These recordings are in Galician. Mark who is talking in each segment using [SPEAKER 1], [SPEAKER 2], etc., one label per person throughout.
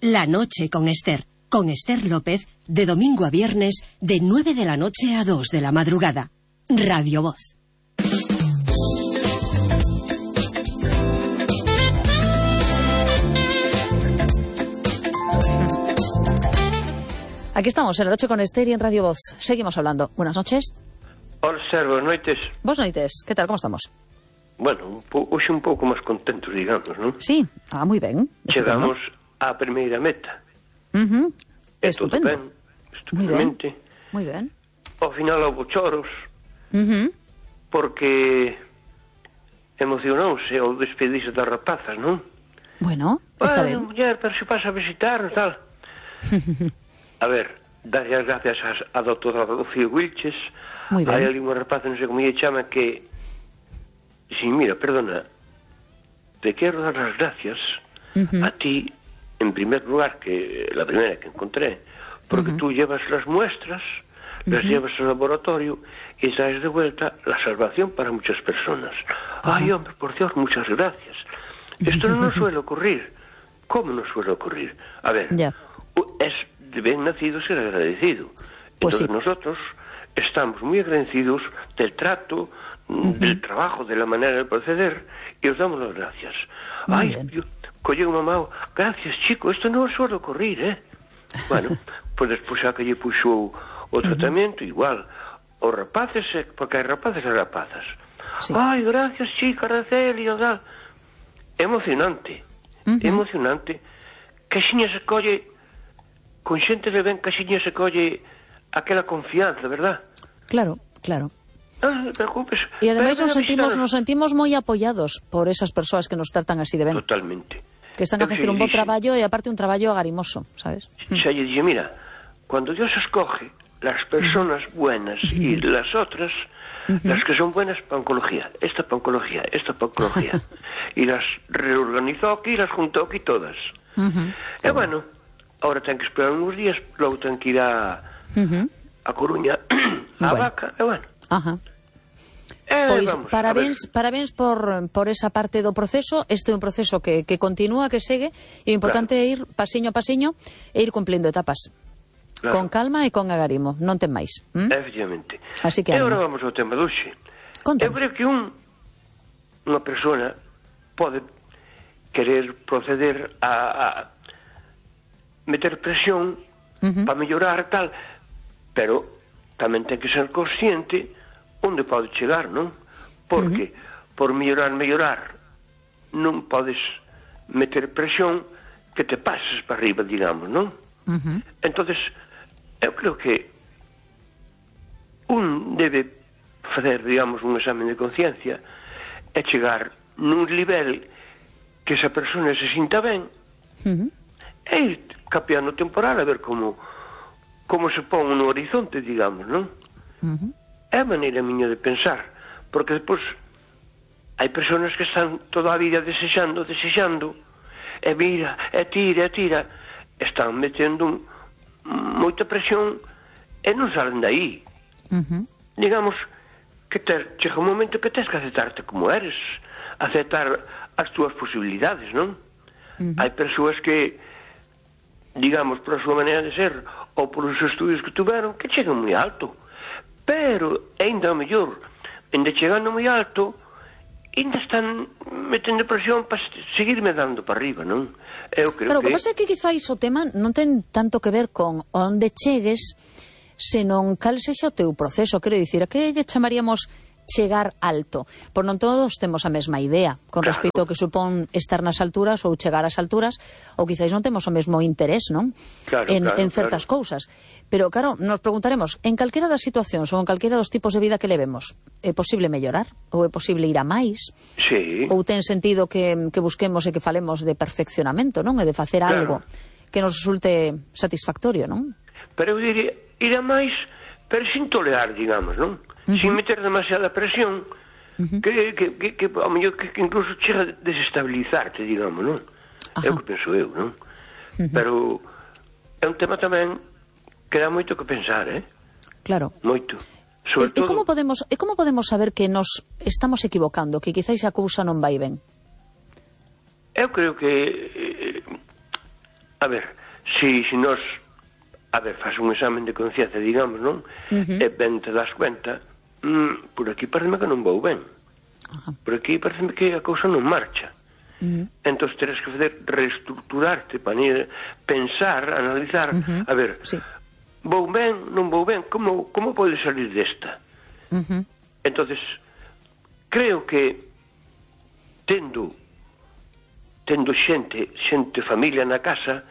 [SPEAKER 1] La noche con Esther López, de domingo a viernes, de 9 de la noche a 2 de la madrugada. Radio Voz.
[SPEAKER 2] Aquí estamos, en la noche con Esther y en Radio Voz. Seguimos hablando. Buenas noches.
[SPEAKER 3] Hola, Ser, boas noites.
[SPEAKER 2] Boas noites. Que tal, como estamos?
[SPEAKER 3] Bueno, hoxe un pouco máis contentos, digamos, non?
[SPEAKER 2] Sí, moi ben.
[SPEAKER 3] Chegamos á primeira meta.
[SPEAKER 2] Estupendo.
[SPEAKER 3] Ben, estupendamente.
[SPEAKER 2] Muy ben.
[SPEAKER 3] Ao final houve choros, porque emocionouse ao despedirse das rapazas, non?
[SPEAKER 2] Bueno, está ben.
[SPEAKER 3] Muller, pero se pasa a visitarnos, tal. A ver, darlle as gracias a doutora Rocío Wilches.
[SPEAKER 2] Muy ben.
[SPEAKER 3] Hai ali unha rapaza, non sei como lle chama, que... Sí, mira, perdona, te quero dar las gracias a ti, en primer lugar, que la primera que encontré, porque tú llevas las muestras, las llevas al laboratorio y traes de vuelta la salvación para muchas personas. Ay, hombre, por Dios, muchas gracias. Esto no nos suele ocurrir. ¿Cómo nos suele ocurrir? A ver, es de bien nacido ser agradecido.
[SPEAKER 2] Pues
[SPEAKER 3] entonces
[SPEAKER 2] sí.
[SPEAKER 3] Nosotros estamos muy agradecidos del trato, del trabajo, de la manera de proceder, y os damos las gracias. Ay, colle unha mamá, gracias, chico, esto no suele ocurrir, Bueno, pues despois xa que lle puxou o tratamento, igual, os rapaces, porque hai rapaces e rapazas.
[SPEAKER 2] Sí.
[SPEAKER 3] Ay, gracias, chica, Araceli, tal. Emocionante, emocionante. Que xiña se colle, con xente de ben, que xiña se colle aquela confianza, verdad?
[SPEAKER 2] Claro, claro.
[SPEAKER 3] Non te preocupes.
[SPEAKER 2] E ademais nos sentimos moi apoiados por esas persoas que nos tratan así de ben.
[SPEAKER 3] Totalmente.
[SPEAKER 2] Que están a facer un bo traballo e aparte un traballo agarimoso, sabes?
[SPEAKER 3] Xa lle dije, mira, cuando Dios escoge las personas buenas y las otras, las que son buenas para oncología, esta para oncología, esta para oncología, y las reorganizó aquí, las juntó aquí todas. E bueno, ahora ten que esperar uns días, logo ten que ir a Coruña, a Vaca, e bueno.
[SPEAKER 2] Pois parabéns por esa parte do proceso. Este é un proceso que continúa, que segue, e o importante é ir pasiño a pasiño e ir cumplindo etapas. Claro. Con calma e con agarimo, non ten máis.
[SPEAKER 3] Efectivamente.
[SPEAKER 2] Así que
[SPEAKER 3] e agora vamos ao tema de hoxe. Eu creo que unha persona pode querer proceder a meter presión para mellorar tal, pero tamén ten que ser consciente onde pode chegar, non? Porque por mellorar non podes meter presión que te pases para arriba, digamos, non? Entonces, eu creo que un debe fazer, digamos, un examen de conciencia e chegar nun nivel que esa persona se sinta ben e ir capeando temporal a ver como se pon no horizonte, digamos, non? É a maneira miña de pensar, porque despois hai persoas que están toda a vida desexando, e mira, e tira, están metendo moita presión e non salen daí. Digamos que chega un momento que tens que aceptarte como eres, aceptar as túas posibilidades, non? Hai persoas que, digamos, por a súa maneira de ser ou por os estudios que tuveron, que chegan moi alto, pero ainda mellor, ainda chegando moi alto, ainda están metendo presión para seguirme dando para arriba, non? Eu creo
[SPEAKER 2] que pasa é que quizáis o tema non ten tanto que ver con onde chegues, senón cal sexa o teu proceso. Quero dicir, a que lle chamaríamos chegar alto? Por non todos temos a mesma idea con respecto ao que supón estar nas alturas ou chegar ás alturas, ou quizáis non temos o mesmo interés, non? En certas cousas. Pero claro, nos preguntaremos, en calquera das situacións ou en calquera dos tipos de vida que levemos, é posible mellorar? Ou é posible ir a máis?
[SPEAKER 3] Sí.
[SPEAKER 2] Ou ten sentido que busquemos e que falemos de perfeccionamento, non? E de facer algo que nos resulte satisfactorio, non?
[SPEAKER 3] Pero eu diría, ir a máis, pero sin tolerar, digamos, non? Sin meter demasiada presión, que ao mellor que incluso chega a desestabilizarte, digamos, non? É o que penso eu, non? Pero é un tema tamén que dá moito que pensar,
[SPEAKER 2] Claro.
[SPEAKER 3] Moito.
[SPEAKER 2] E como podemos saber que nos estamos equivocando, que quizáis a cousa non vai ben?
[SPEAKER 3] Eu creo que a ver, se nos faz un examen de conciencia, digamos, non? E ben te das cuenta, por aquí pareceme que non vou ben. Por aquí pareceme que a cousa non marcha. Entón teres que fazer reestructurarte, pensar, analizar, a ver, vou ben, non vou ben, como pode salir desta? Entonces, creo que tendo xente, familia na casa,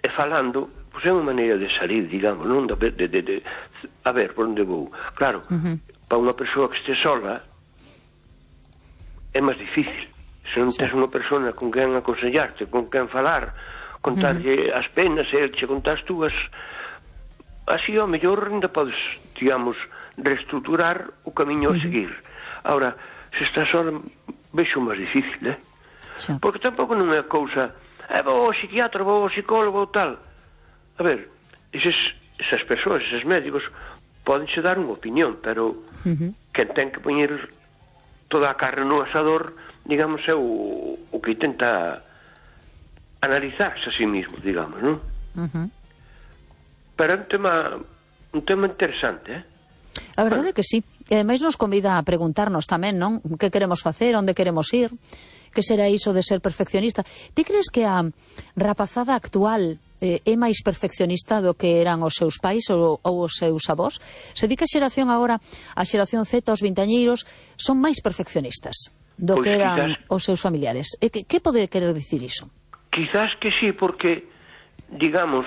[SPEAKER 3] e falando, pois é unha maneira de salir, digamos, non? A ver, por onde vou? Claro, para unha persoa que este sola é máis difícil. Se non tens unha persona con quen aconsellarte, con quen falar, contarlle as penas e el che contar as túas, así ao mellor ainda podes, digamos, reestructurar o camiño a seguir. Ahora, se estás sola, vexo máis difícil, porque tampouco non é cousa, vou ao psiquiatra, vou ao psicólogo ou tal. A ver, esas persoas, eses médicos, podense dar unha opinión, pero quen ten que poñer toda a carne no asador, digamos, é o que intenta analizarse a sí mismo, digamos, non? Pero é un tema interesante,
[SPEAKER 2] A verdade é que sí. E ademais nos convida a preguntarnos tamén, non? Que queremos facer, onde queremos ir, que será iso de ser perfeccionista. Ti crees que a rapazada actual é máis perfeccionista do que eran os seus pais ou os seus avós? Se di que a xeración agora, a xeración Z, os vintañeiros, son máis perfeccionistas do que eran os seus familiares. Que pode querer dicir iso?
[SPEAKER 3] Quizás que sí, porque, digamos,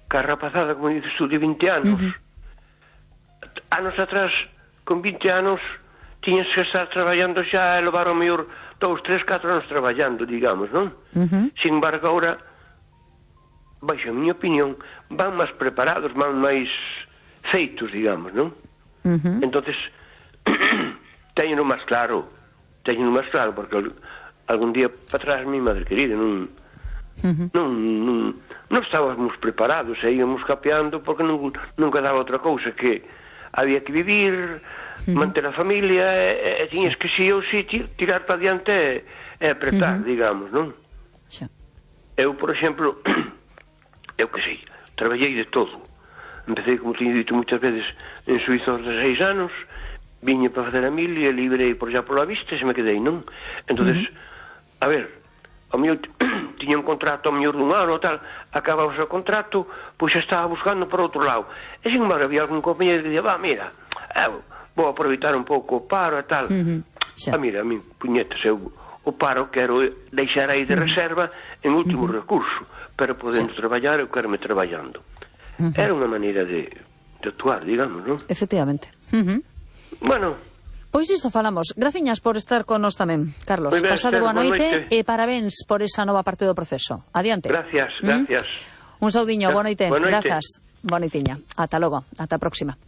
[SPEAKER 3] que a rapazada, como dices tú, de 20 anos, anos atrás, con 20 anos, tiñas que estar traballando xa e levar o mellor 2, 3, 4 anos traballando, digamos, non? Sin embargo, agora, baixo a miña opinión, van máis preparados, van máis feitos, digamos, non? Entonces, teñeno máis claro, porque algún día para atrás, mi madre querida, non estábamos preparados, e íamos capeando porque nunca daba outra cousa que había que vivir, manter a familia, e tiñas que si ou si tirar para diante e apretar, digamos, non? Eu, por exemplo, eu que sei, traballei de todo. Empecé, como teño dito muchas veces, en Suiza aos 16 anos, viñe para fazer a mil e librei por xa pola vista e se me quedei, non? Entonces, a ver, ao mellor tiña un contrato ao mellor dun ano ou tal, acababa o contrato, pois xa estaba buscando por outro lado. E sin embargo, había algún compañero que dicía, mira, vou aproveitar un pouco o paro e tal. Mira, a mí, puñetas, eu o paro quero deixar aí de reserva en último recurso, pero podendo traballar, eu quero me traballando. Era unha maneira de actuar, digamos, non?
[SPEAKER 2] Efectivamente.
[SPEAKER 3] Bueno,
[SPEAKER 2] pois isto falamos. Graciñas por estar con nos tamén, Carlos. Pasade boa noite e parabéns por esa nova parte do proceso. Adiante.
[SPEAKER 3] Gracias.
[SPEAKER 2] Un saudiño, boa noite. Grazas. Boa noitiña. Ata logo, ata a próxima.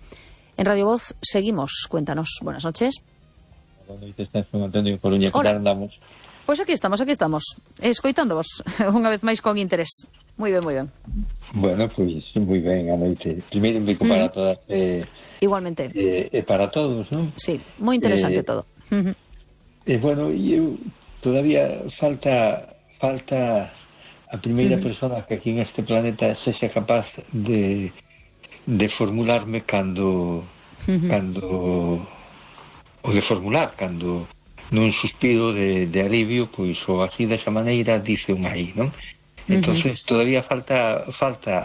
[SPEAKER 2] En Radio Voz seguimos. Cuéntanos. Buenas noches.
[SPEAKER 4] Boa noite, estás con Antonio Coruña, que tal andamos?
[SPEAKER 2] Pois aquí estamos, escoitándovos unha vez máis con interés. Moi ben.
[SPEAKER 4] Bueno, pois moi ben, a noite. Primeiro un bico para todas.
[SPEAKER 2] Igualmente.
[SPEAKER 4] Para todos, non?
[SPEAKER 2] Sí, moi interesante todo.
[SPEAKER 4] Bueno, eu todavía falta a primeira persona que aquí en este planeta sexa capaz de formularme cando nun suspiro de alivio, pois ou así desa maneira dice un aí, non? Entonces todavía falta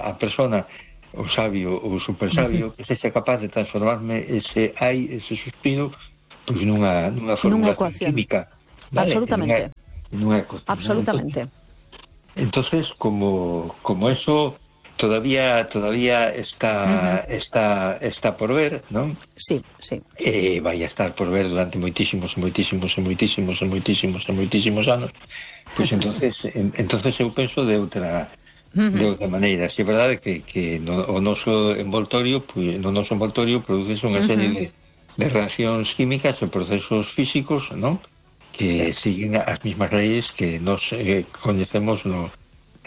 [SPEAKER 4] a persona, o sabio ou super sabio, que sexa capaz de transformarme ese suspiro, pois nunha formulación química,
[SPEAKER 2] ¿vale? Absolutamente.
[SPEAKER 4] Nunha ecuación.
[SPEAKER 2] Absolutamente.
[SPEAKER 4] Entonces, como eso todavía está por ver, ¿no?
[SPEAKER 2] Sí.
[SPEAKER 4] Vai a estar por ver durante moitísimos anos. Pois entonces eu penso de outra maneira. Si é verdade que o noso envoltorio produce unha serie de reaccións químicas e procesos físicos, ¿no? Que siguen as mismas leyes que nos coñecemos no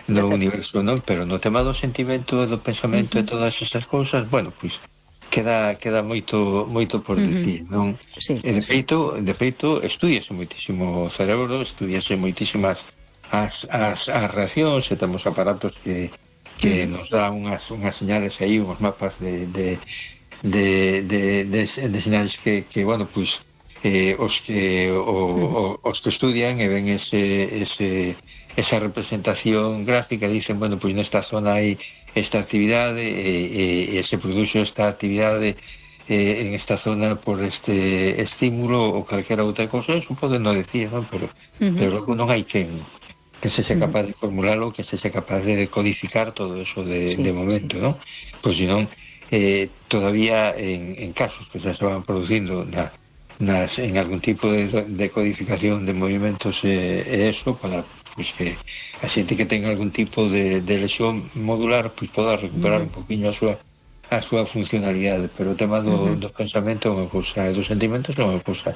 [SPEAKER 4] universo, non? Pero no tema do sentimento e do pensamento e todas esas cousas, bueno, pois queda moito por dicir, non?
[SPEAKER 2] Sí,
[SPEAKER 4] de feito, estudiase moitísimo o cerebro, estudiase moitísimas as reaccións, e temos aparatos que nos dan unhas señales aí, uns mapas de señales que bueno, pois os que estudian e ven esa representación gráfica dicen, bueno, pois nesta zona hai esta actividade e se produce esta actividade en esta zona por este estímulo ou calquera outra cosa. Eso pode non decir, non? Pero logo non hai que sexa capaz de formularlo, que sexa capaz de codificar todo eso de momento, non? Pois senón todavía en casos que se estaban producindo en algún tipo de codificación de movimentos eso, para pues que a xente que ten algún tipo de lesión modular pois poda recuperar un poquinho a súa funcionalidade, pero o tema do pensamento é unha cousa, dos sentimentos é unha cousa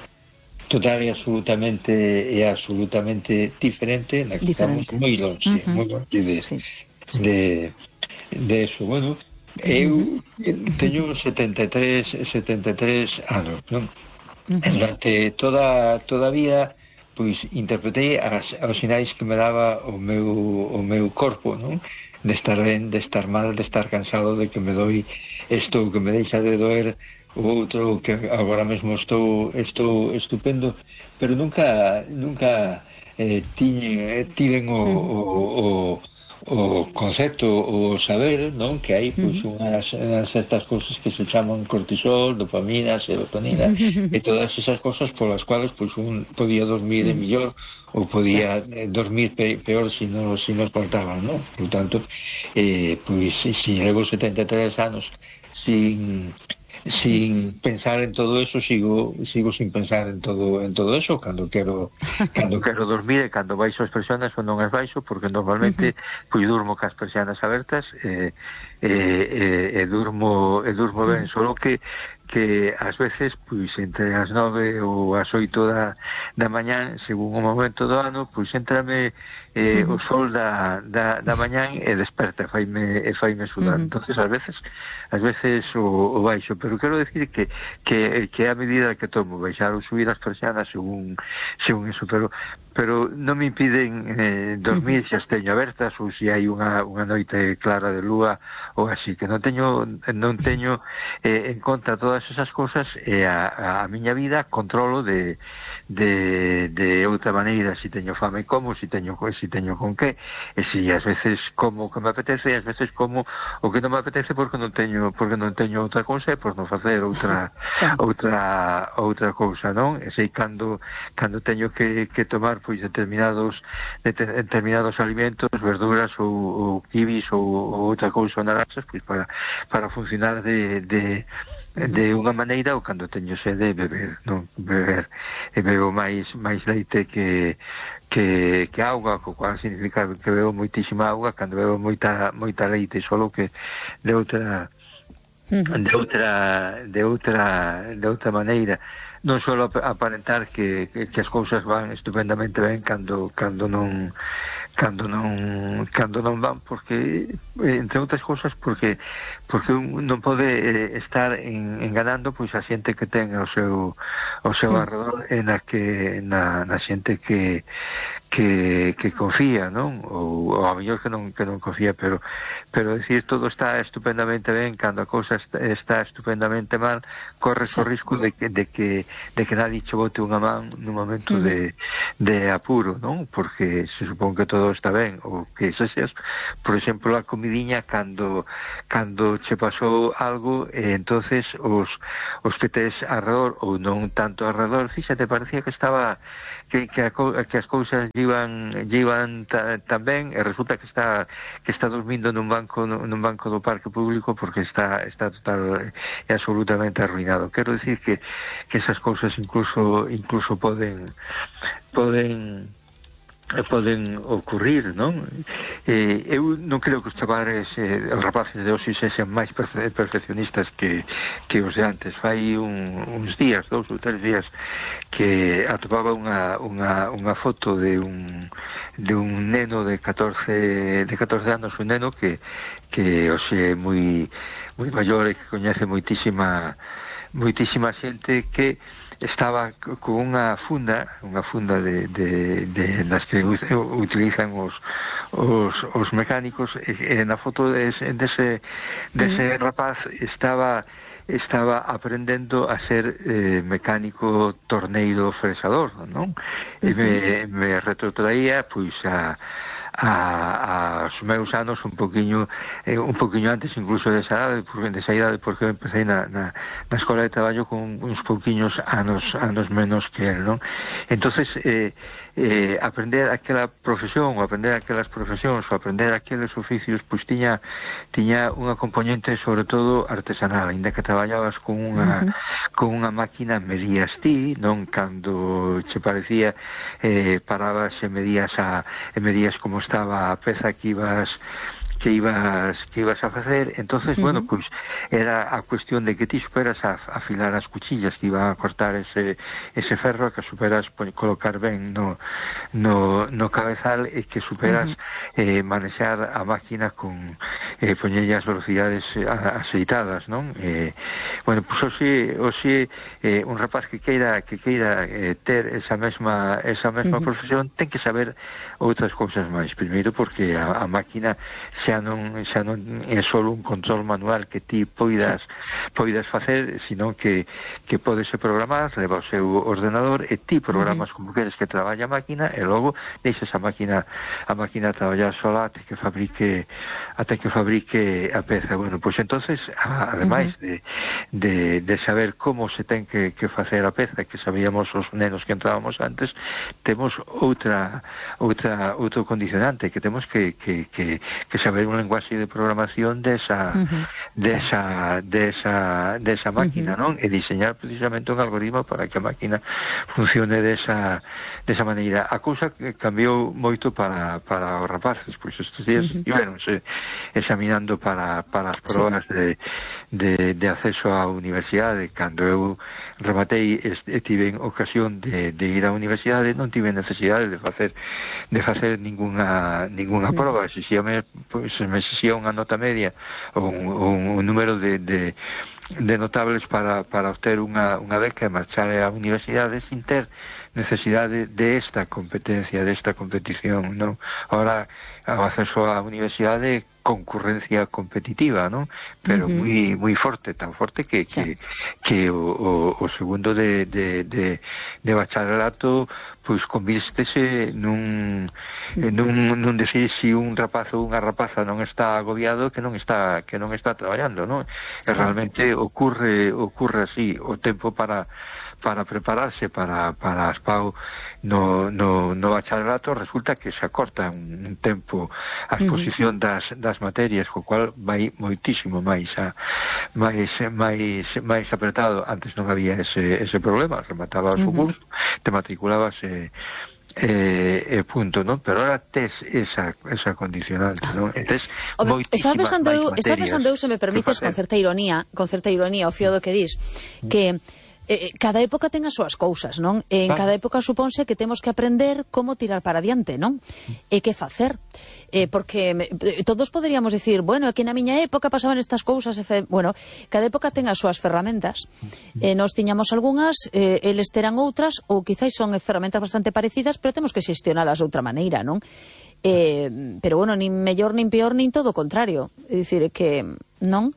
[SPEAKER 4] total e absolutamente diferente, na que estamos moi longe de eso. Bueno, eu teño 73 anos, non? Durante toda a vida pois interpretei os sinais que me daba o meu corpo, non? De estar ben, de estar mal, de estar cansado, de que me doi isto, que me deixa de doer o outro, que agora mesmo estou estupendo, pero nunca tiven o concepto, o saber, non? Que hai pois unhas certas cousas que se chaman cortisol, dopamina, serotonina e todas esas cousas polas cuales pois un podía dormir mellor ou podía dormir peor se nos faltaban, non? Por tanto, pois se levo 73 anos sin pensar en todo eso, sigo sin pensar en todo eso cando quero dormir e cando baixo as persianas ou non as baixo, porque normalmente pois durmo cas persianas abertas e durmo ben, solo que ás veces pois entre as 9 ou as 8 da mañán, según o momento do ano, pois entrame o sol da mañán e desperta, faime sudar. Entonces ás veces o baixo, pero quero decir que a medida que tomo baixar ou subir as persianas según eso, pero non me impiden dormir se as teño abertas ou se hai unha noite clara de lúa ou así, que non teño en conta todas esas cousas, e a miña vida controlo de outra maneira. Se teño fame como, se teño con que, e se ás veces como que me apetece, e ás veces como o que non me apetece porque non teño outra cousa, e por non facer outra cousa, non? E sei cando teño que tomar pois determinados alimentos, verduras ou kibis ou outra cousa, naranxas, pois para funcionar de unha maneira, ou cando teño sede beber, e bebo máis leite que auga, co cual significa que bebo moitísima auga cando bebo moita leite, solo que de outra maneira, non só aparentar que as cousas van estupendamente ben cando non van, porque entre outras cousas porque non pode estar enganando pois a xente que ten ao seu arredor, e na xente que confía, non? Ou a mellor que non confía, pero decir todo está estupendamente ben cando a cousa está estupendamente mal, corres o risco de que nadie che bote unha man nun momento de apuro, non? Porque se supón que todo está ben, ou que sexas, por exemplo, a comidiña cando che pasou algo, e entonces os que tes arredor ou non tanto arredor, fíxate, parecía que estaba que as cousas llevan tan ben, e resulta que está dormindo nun banco do parque público porque está total e absolutamente arruinado. Quero decir que esas cousas incluso poden ocurrir, non? Eu non creo que os chavales, os rapaces de hoxe sexan máis perfeccionistas que os de antes. Fai uns días, 2 ou 3 días, que atopaba unha foto de un neno de 14 anos, un neno que hoxe é moi maior e que coñece moitísima xente, que estaba con unha funda de las que utilizan os mecánicos, e na foto dese rapaz estaba aprendendo a ser mecánico torneiro fresador, non? E me retrotraía pois aos meus anos un poquinho antes incluso desa idade, porque empecé na escola de traballo con uns pouquiños anos menos que él, non? Entonces aprender aquela profesión, ou aprender aquelas profesións, ou aprender aqueles oficios, pois tiña unha componente sobre todo artesanal, ainda que traballabas con unha máquina, medías ti, non? Cando che parecía parabas e medías como estaba a peza que ibas a facer. Entonces, bueno, pois era a cuestión de que ti superas a afilar as cuchillas que iban a cortar ese ferro, que superas colocar ben no cabezal, e que superas manexar a máquina con poñelle as velocidades axeitadas, non? Bueno, pois hoxe un rapaz que queira ter esa mesma profesión ten que saber outras cousas máis. Primeiro porque a máquina xa non é só un control manual que ti poidas facer, sino que podese programar, leva o seu ordenador e ti programas como queres que traballe a máquina, e logo deixas a máquina traballar sola até que fabrique a peza. Bueno, pois entonces, ademais de saber como se ten que facer a peza, que sabíamos os nenos que entrábamos antes, temos outro condicionante, que temos que saber un lenguaxe de programación desa máquina, non? E diseñar precisamente un algoritmo para que a máquina funcione desa maneira. A cousa cambiou moito para os rapaces, pois estes días ibaronse examinando para as probas de acceso á universidade. Cando eu rematei e tive ocasión de ir á universidade, non tive necesidade de facer ninguna proba. Me exixía unha nota media ou un número de notables para obter unha beca e marchar á universidade sin ter necesidade desta competencia, desta competición, non? Ahora, o acceso á universidade concurrencia competitiva, non? Pero moi forte, tan forte que o segundo de bacharelato pois convístese nun decir si un rapaz ou unha rapaza non está agobiado que non está traballando, non? E realmente ocurre así. O tempo para prepararse para as PAU no bacharelato resulta que se acorta un tempo a exposición das materias, co cual vai moitísimo máis apretado. Antes non había ese problema, rematabas o curso, te matriculabas punto, non? Pero ahora tes esa condicionante, non?
[SPEAKER 2] Estaba pensando eu, se me permites, con certa ironía, o fío do que dis, que cada época ten as súas cousas, non? En cada época supónse que temos que aprender como tirar para adiante, non? E que facer. Porque todos poderíamos dicir, bueno, é que na miña época pasaban estas cousas. Bueno, cada época ten as súas ferramentas. Nós tiñamos algunhas, eles terán outras, ou quizáis son ferramentas bastante parecidas, pero temos que xestionalas de outra maneira, non? Pero bueno, nin mellor, nin peor, nin todo o contrario. É dicir, que non...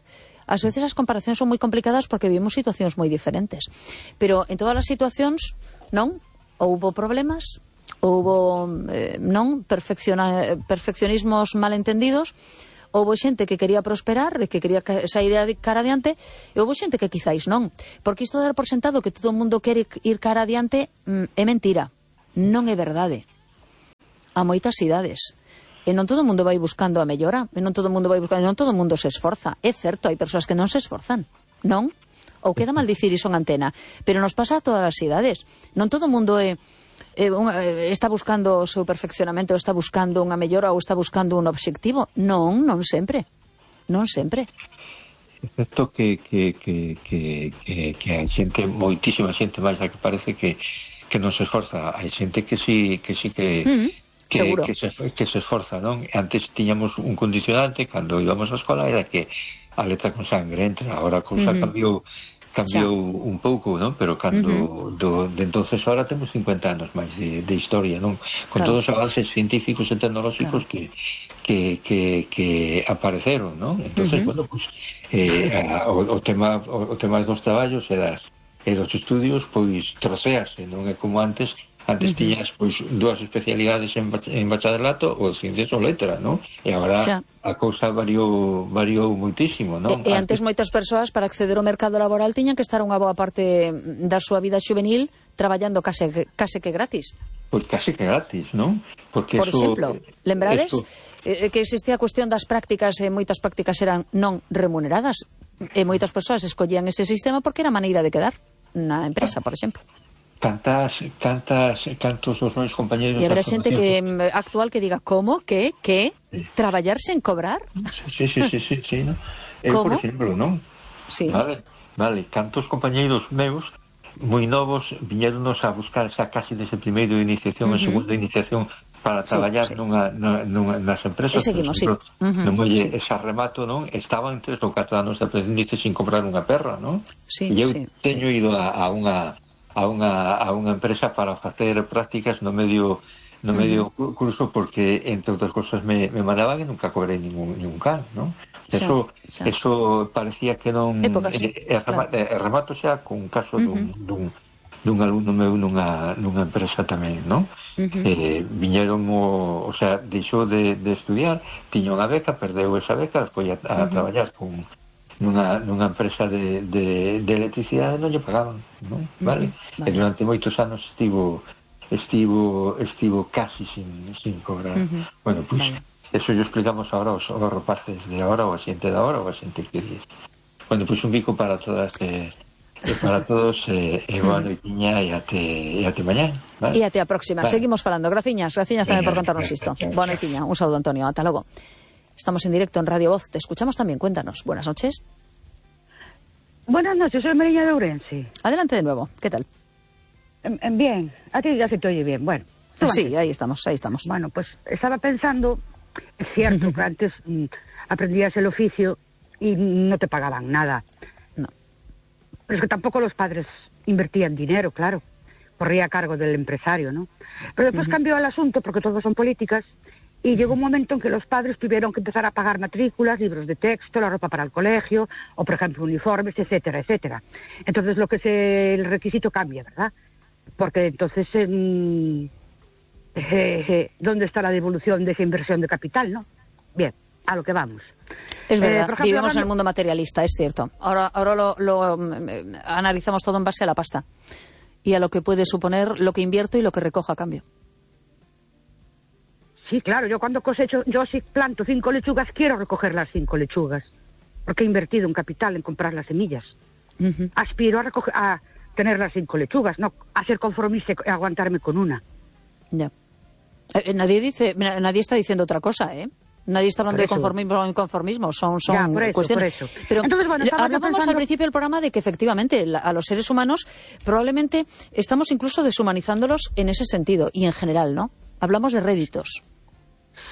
[SPEAKER 2] Ás veces as comparacións son moi complicadas porque vivimos situacións moi diferentes. Pero en todas as situacións, non? Houbo problemas, houbo perfeccionismos malentendidos, houbo xente que quería prosperar, que quería sair cara adiante, e houbo xente que quizáis non. Porque isto de dar por sentado que todo o mundo quere ir cara adiante é mentira. Non é verdade. A moitas idades. E non todo o mundo vai buscando a mellora, non todo o mundo se esforza. É certo, hai persoas que non se esforzan, non? Ou queda mal dicir iso en antena, pero nos pasa a todas as idades. Non todo o mundo está buscando o seu perfeccionamento, ou está buscando unha mellora, ou está buscando un obxectivo. Non sempre. Non sempre.
[SPEAKER 4] Excepto que hai xente, moitísima xente máis a que parece que non se esforza. Hai xente que sí que se esforza, non? Antes tiñamos un condicionante cando íbamos á escola, era que a letra con sangre entra. Ahora a cousa cambiou cambiou un pouco, non? Pero cando de entonces ahora temos 50 anos máis de historia, non? Con todos os avances científicos e tecnolóxicos que apareceron, non? Entonces, bueno, pues o tema dos traballos e dos estudios, pois trocease, non é como antes tiñas pois dúas especialidades en bacharelato ou ciencias ou letra, non? E agora a cousa variou muitísimo, non?
[SPEAKER 2] E antes moitas persoas para acceder ao mercado laboral tiñan que estar unha boa parte da súa vida xuvenil traballando case que gratis.
[SPEAKER 4] Pois case que gratis, non? Porque
[SPEAKER 2] por exemplo, lembrades que existía a cuestión das prácticas e moitas prácticas eran non remuneradas e moitas persoas escollían ese sistema porque era a maneira de quedar na empresa, por exemplo.
[SPEAKER 4] Cantos os meus compañeros...
[SPEAKER 2] E habrá xente que actual que diga, como? Que? Traballar sen cobrar?
[SPEAKER 4] Sí, ¿no? Por exemplo, non?
[SPEAKER 2] Sí.
[SPEAKER 4] Vale, cantos compañeiros meus moi novos viñeronos a buscar xa casi desde primeiro de iniciación e segundo de iniciación para traballar nas empresas.
[SPEAKER 2] E seguimos,
[SPEAKER 4] por exemplo, no molle esa remato, non? Estaban 3 ou 4 anos de aprendices sin comprar unha perra, non? E eu teño ido a unha empresa para facer prácticas no medio curso porque, entre outras cosas, me mandaban e nunca cobrei ningún can, non? Eso parecía que non... remato xa con un caso dun alumno meu nunha empresa tamén, non? Viñeron o sea, deixou de estudiar, tiña unha beca, perdeu esa beca, foi a traballar nunha empresa de electricidade, non lle pagaban, non? Vale? E durante moitos anos estivo casi sin cobrar. Bueno, pues eso yo explicamos ahora aos rapaces de ahora, ou a xente de ahora, ou a xente que dice. Bueno, pues un bico para todas para todos, boa noitiña e até mañá, vale?
[SPEAKER 2] E até a próxima. Seguimos falando. Graciñas tamén por contarnos isto. Boa noitiña. Un saúdo, Antonio. Ata logo. Estamos en directo en Radio Voz. Te escuchamos también. Cuéntanos. Buenas noches.
[SPEAKER 5] Buenas noches, soy Mariña de Ourense.
[SPEAKER 2] Adelante de nuevo. ¿Qué tal?
[SPEAKER 5] Bien. A ti ya se te oye bien. Bueno.
[SPEAKER 2] Sí, ahí estamos.
[SPEAKER 5] Bueno, pues estaba pensando, es cierto que antes aprendías el oficio y no te pagaban nada.
[SPEAKER 2] No.
[SPEAKER 5] Pero es que tampoco los padres invertían dinero, claro. Corría a cargo del empresario, ¿no? Pero después cambió el asunto porque todo son políticas. Y llegó un momento en que los padres tuvieron que empezar a pagar matrículas, libros de texto, la ropa para el colegio, o por ejemplo uniformes, etcétera, etcétera. Entonces el requisito cambia, ¿verdad? Porque entonces, ¿dónde está la devolución de esa inversión de capital, no? Bien, a lo que vamos.
[SPEAKER 2] Es verdad, ejemplo, vivimos en el mundo materialista, es cierto. Ahora lo analizamos todo en base a la pasta y a lo que puede suponer lo que invierto y lo que recojo a cambio.
[SPEAKER 5] Sí, claro, yo cuando cosecho, yo si planto 5 lechugas, quiero recoger las 5 lechugas, porque he invertido un capital en comprar las semillas. Aspiro a tener las 5 lechugas, no a ser conformista y aguantarme con una.
[SPEAKER 2] Ya. Nadie está diciendo otra cosa, ¿eh? Nadie está hablando de conformismo o inconformismo, son cuestiones.
[SPEAKER 5] Por eso.
[SPEAKER 2] Pero
[SPEAKER 5] entonces, bueno,
[SPEAKER 2] hablábamos al principio del programa de que efectivamente a los seres humanos probablemente estamos incluso deshumanizándolos en ese sentido y en general, ¿no? Hablamos de réditos.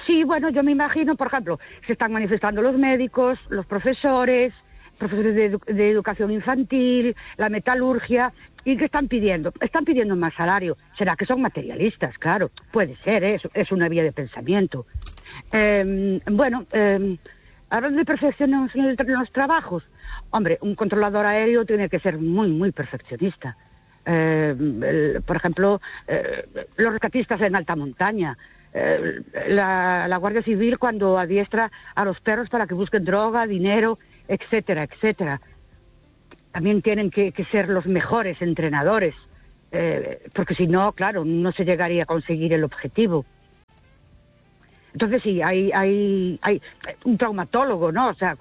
[SPEAKER 5] Sí, bueno, yo me imagino, por ejemplo, se están manifestando los médicos, los profesores de educación infantil, la metalurgia, ¿y qué están pidiendo? Están pidiendo más salario. ¿Será que son materialistas? Claro, puede ser, es una vía de pensamiento. Hablando de perfección en los trabajos, hombre, un controlador aéreo tiene que ser muy, muy perfeccionista. Por ejemplo, los rescatistas en alta montaña, la Guardia Civil cuando adiestra a los perros para que busquen droga, dinero, etcétera, etcétera. También tienen que ser los mejores entrenadores, porque si no, claro, no se llegaría a conseguir el objetivo. Entonces sí, hay un traumatólogo, ¿no? O sea,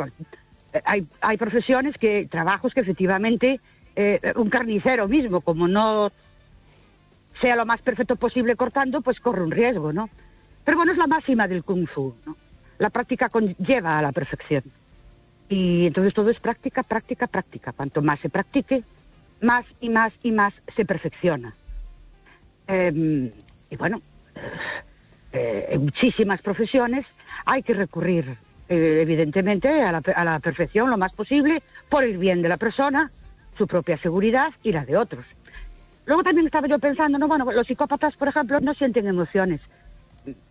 [SPEAKER 5] hay profesiones trabajos que efectivamente, un carnicero mismo, como no sea lo más perfecto posible cortando, pues corre un riesgo, ¿no? Pero bueno, es la máxima del Kung Fu, ¿no? La práctica conlleva a la perfección. Y entonces todo es práctica, práctica, práctica. Cuanto más se practique, más y más y más se perfecciona. Y bueno, en muchísimas profesiones hay que recurrir, evidentemente, a la perfección lo más posible, por el bien de la persona su propia seguridad y la de otros. Luego también estaba yo pensando, no, bueno, los psicópatas, por ejemplo, no sienten emociones.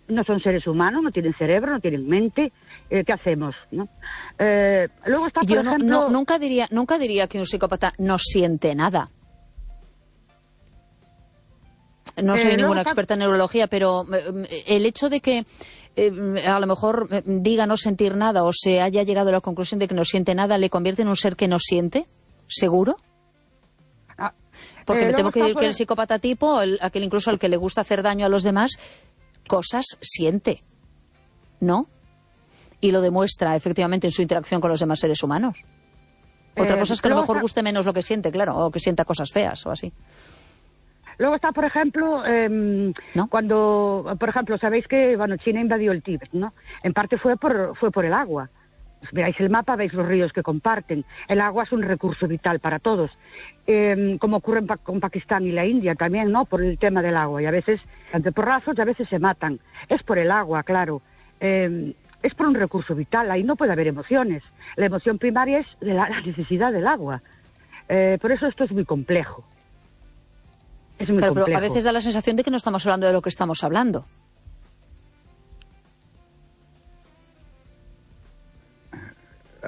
[SPEAKER 5] No son seres humanos, no tienen cerebro, no tienen mente. ¿Qué hacemos? ¿No? Luego está, por ejemplo...
[SPEAKER 2] nunca diría que un psicópata no siente nada. No soy ninguna experta en neurología, pero el hecho de que a lo mejor diga no sentir nada o se haya llegado a la conclusión de que no siente nada, ¿le convierte en un ser que no siente? ¿Seguro? Porque me temo que el psicópata tipo, aquel incluso al que le gusta hacer daño a los demás, cosas siente, ¿no? Y lo demuestra efectivamente en su interacción con los demás seres humanos. Otra cosa es que a lo mejor guste menos lo que siente, claro, o que sienta cosas feas o así.
[SPEAKER 5] Luego está, por ejemplo,
[SPEAKER 2] ¿no?
[SPEAKER 5] Cuando, por ejemplo, sabéis que China invadió el Tíbet, ¿no? En parte fue por el agua. Veáis el mapa, veis los ríos que comparten. El agua es un recurso vital para todos. Como ocurre con Pakistán y la India también, ¿no? Por el tema del agua. Y a veces, ante porrazos, y a veces se matan. Es por el agua, claro. Es por un recurso vital. Ahí no puede haber emociones. La emoción primaria es de la necesidad del agua. Por eso esto es muy complejo. Es muy complejo.
[SPEAKER 2] Pero a veces da la sensación de que no estamos hablando de lo que estamos hablando.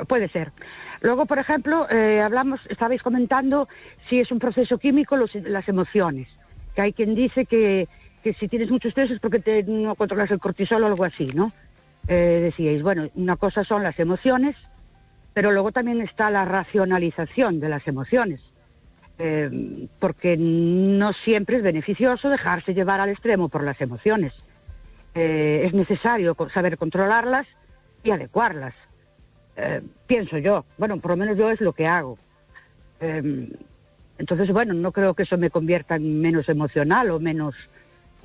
[SPEAKER 5] Puede ser. Luego, por ejemplo, estabais comentando si es un proceso químico las emociones. Que hay quien dice que si tienes mucho estrés es porque no controlas el cortisol o algo así, ¿no? Decíais, bueno, una cosa son las emociones, pero luego también está la racionalización de las emociones. Porque no siempre es beneficioso dejarse llevar al extremo por las emociones. Es necesario saber controlarlas y adecuarlas. Pienso yo, bueno, por lo menos yo es lo que hago. Entonces, bueno, no creo que eso me convierta en menos emocional o menos...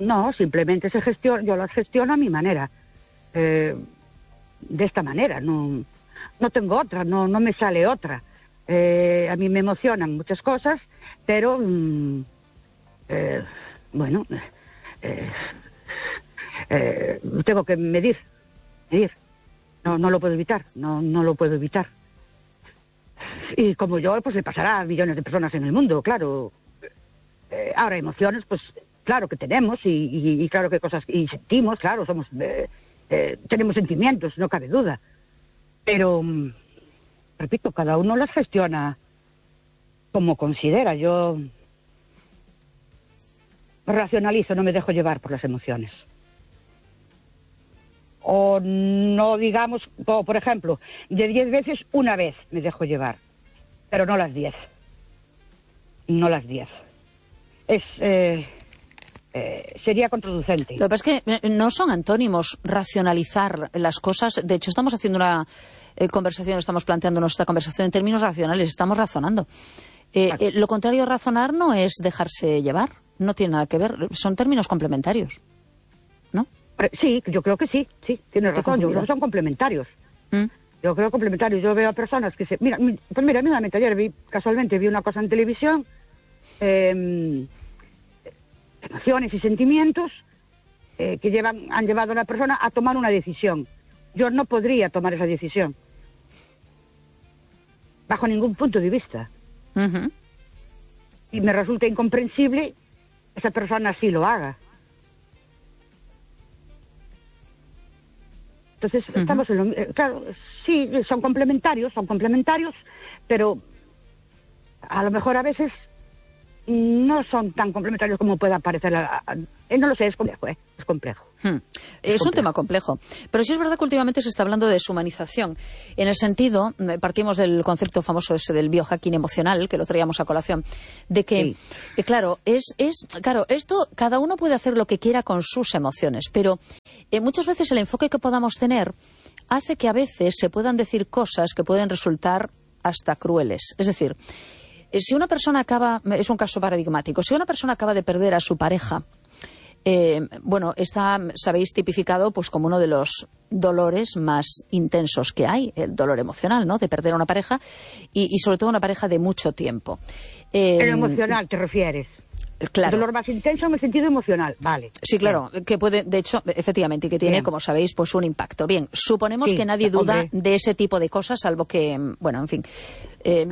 [SPEAKER 5] No, simplemente yo las gestiono a mi manera. De esta manera, no tengo otra, no me sale otra. A mí me emocionan muchas cosas, pero tengo que medir. No lo puedo evitar, no lo puedo evitar. Y como yo, pues le pasará a millones de personas en el mundo, claro. Ahora, emociones, pues claro que tenemos y claro que cosas... Y sentimos, claro, tenemos sentimientos, no cabe duda. Pero... repito, cada uno las gestiona como considera. Yo racionalizo, no me dejo llevar por las emociones. O no digamos, por ejemplo, de 10 veces, una vez me dejo llevar, pero no las 10. No las 10. Sería contraproducente.
[SPEAKER 2] Lo que pasa es que no son antónimos racionalizar las cosas. De hecho, estamos haciendo una conversación, estamos planteándonos esta conversación en términos racionales, estamos razonando. Lo contrario a razonar no es dejarse llevar, no tiene nada que ver, son términos complementarios, ¿no?
[SPEAKER 5] Sí, yo creo que sí, tienes razón, yo creo que son complementarios. Yo creo complementarios. Yo veo a personas que Mira, mismamente ayer casualmente vi una cosa en televisión, emociones y sentimientos que han llevado a una persona a tomar una decisión. Yo no podría tomar esa decisión, bajo ningún punto de vista. Y me resulta incomprensible esa persona así lo haga. Entonces, estamos en lo... claro, sí, son complementarios, pero a lo mejor a veces no son tan complementarios como pueda parecer. No lo sé, es complejo, es complejo.
[SPEAKER 2] Es un tema complejo. Pero sí es verdad que últimamente se está hablando de deshumanización. En el sentido, partimos del concepto famoso ese del biohacking emocional, que lo traíamos a colación, de que, claro, claro, esto cada uno puede hacer lo que quiera con sus emociones, pero muchas veces el enfoque que podamos tener hace que a veces se puedan decir cosas que pueden resultar hasta crueles. Es decir, si una persona es un caso paradigmático, si una persona acaba de perder a su pareja, está, sabéis, tipificado pues como uno de los dolores más intensos que hay, el dolor emocional, ¿no? De perder a una pareja y sobre todo una pareja de mucho tiempo.
[SPEAKER 5] ¿El emocional te refieres?
[SPEAKER 2] Claro.
[SPEAKER 5] El dolor más intenso en el sentido emocional, vale.
[SPEAKER 2] Sí, claro, que puede, de hecho, efectivamente, y que tiene, como sabéis, pues un impacto. Bien, suponemos que nadie duda de ese tipo de cosas, salvo que, bueno, en fin.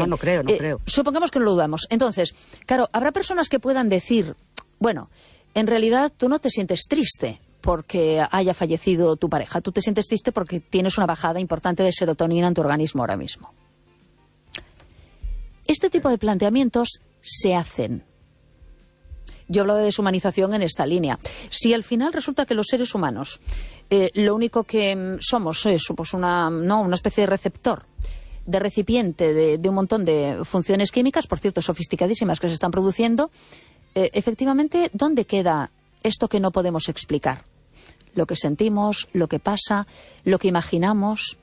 [SPEAKER 5] No creo.
[SPEAKER 2] Supongamos que no lo dudamos. Entonces, claro, habrá personas que puedan decir, bueno, en realidad tú no te sientes triste porque haya fallecido tu pareja, tú te sientes triste porque tienes una bajada importante de serotonina en tu organismo ahora mismo. Este tipo de planteamientos se hacen. Yo hablo de deshumanización en esta línea. Si al final resulta que los seres humanos lo único que somos es pues una especie de receptor, de recipiente de un montón de funciones químicas, por cierto, sofisticadísimas, que se están produciendo, efectivamente, ¿dónde queda esto que no podemos explicar? Lo que sentimos, lo que pasa, lo que imaginamos.